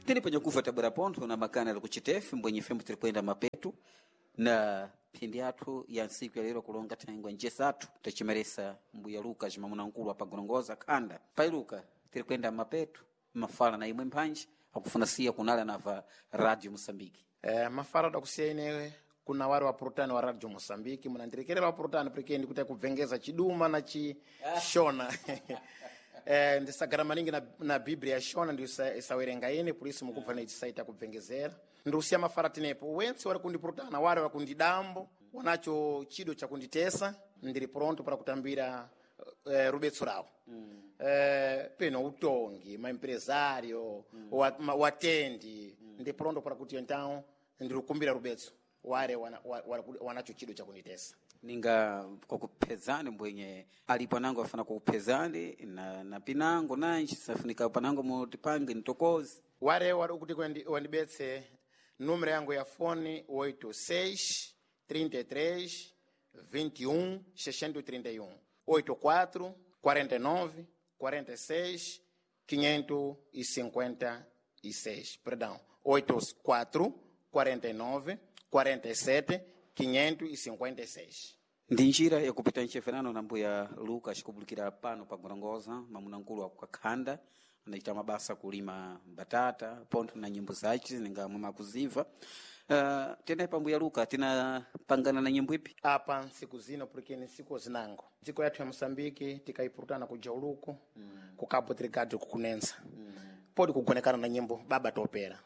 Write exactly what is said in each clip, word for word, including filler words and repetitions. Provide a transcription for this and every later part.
Tini panyakufa tabwera pontho na makana ali kuchitefe mbwenye fembo tiri kuyenda mapetu na phindi athu ya ntsiku ya lero kulonga thangwe njesathu tachimeresa mbuya Luka cimamuna nkulu apagorongoza khanda pai Luka tiri kuyenda mapetu mafala na imwe mphanji akufuna siya kunala nava Radio Moçambique. Eh, mafala dakusiya ine kuna wari wapurutani wa Radio Moçambique munandirekerera wapurutani porque ndikuti kubvengeza chiduma na chishona. Eh, ndisagara maningi na, na biblia ya shona ndi isawerenga ine por isso mukubva nechisaita kubvengezera. Ndiusiya mafala tinepo wentse wari kundipurutana wari wakundidambo wanacho chido chakunditesa ndiri pronto para kutambira eh, rubetso rawo mm. eh, peno utongi maempresario mm. wa, ma, watendi mm. ndi pronto para kuti então ndiri kumbira rubetso ware wana, wa, wa, wanacho chido chakunditesa. Ninga kwakuphezani mbwenye alipo anango afana kukuphezani na, na pinango nanji safunika panango mutipange ntokozi. Ware wari kuti wendi- wandibetse número yangu ya fone oito seis trinta e três vinte e um seiscentos e trinta e um oito quatro quarenta e nove quarenta e seis quinhentos e cinquenta e seis, perdão, oito quatro quarenta e nove quarenta e sete quinhentos e cinquenta e seis. Ndi njira yakupita nchefenano na mbuya Lucas kubulikira pano pa Gorongosa mamuna nkulu akukakhanda anachita mabasa kulima batata pontho na nyimbo zace ninga mwamakuziva. Uh, tena pa mbuya Luka tinapangana na nyimbo ipi? Apa ntsiku zino porque ni ntsiku zinango dziko yathu ya Moçambique tikaipurutana kuja uluku mm. ku Cabo Delgado kukunensa mm. podi kugonekana na nyimbo Baba Topera.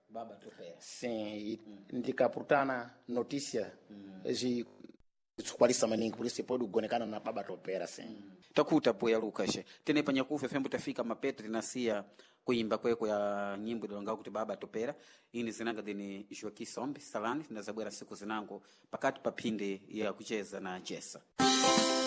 Baba Topera. Sim, mm. ndikapurutana notícia mm. zikukwalisa maningi por isso podi kugonekana na Baba Topera, sim mm. Takuta mbuya Lucas tene panyakufa fembo tafika mapeto tinasiya kuimba kweko ya nyimbo ilonga kuti Baba Topera. Ini zinanga dini Joaquim Sombe Salani tinazabwera siku zinango pakati pa phindi ya kucheza na chesa.